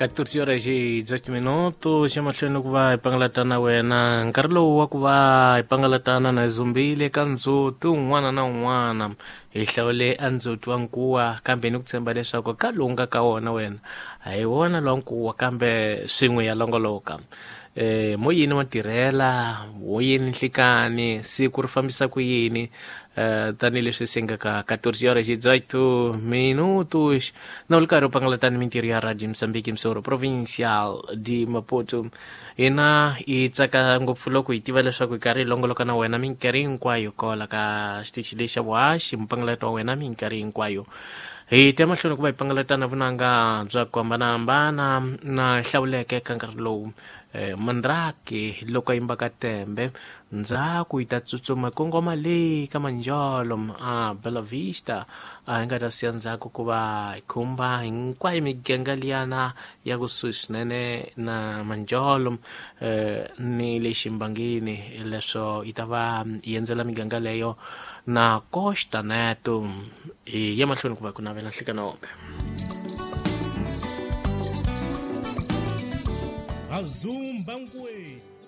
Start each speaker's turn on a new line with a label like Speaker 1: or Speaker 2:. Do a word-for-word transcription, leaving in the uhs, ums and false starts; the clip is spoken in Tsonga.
Speaker 1: catorze horas e dezoito minutos xa mahlweni ku va hi pangalatana wena nkarhi lowu wa ku va hi pangalatana na zumbile ka ndzhuti un'wana na un'wana hi hlawule a ndzhuti wa nkuwa kambe ni ku tshemba leswaku ka lowu nga ka wona wena a hi wona lowa nkuwa kambe swin'we ya longoloka eh moyini wa tirhela woyini nhlikani siku ri fambisa ku yini eh tanihileswi se nga ka catorze horas e dezoito minutos na u ri karhi u pangalatani mintirho ya Radio Moçambique Msoro Provincial de Maputo hina hi tsaka ngopfu loko hi tiva leswaku hi karhi hi longoloka na wena minkarhi hinkwayo kola ka xitichi lexi xa vuhaxi mpangalato wa wena minkarhi hinkwayo hi ta mahlweni ku va hi pangalatana vunanga bya ku hambanahambana na hlawuleke ka nkarhi lowu eh, Mandrake loko a yimba ka tembe ndzhaku yi ta tsutsuma kongoma le ka Manjolo a Bela Vista a hi nga ta siya ndzhaku ku va hi khumba hinkwayo miganga liyana ya kusuhi swinene na Manjolo eh, ni le Ximbangini leswo yi ta va yi endzela miganga leyo na Costa Neto hi ya mahlweni ku va ku navela nhlikana wombe
Speaker 2: Azumba Nkwe.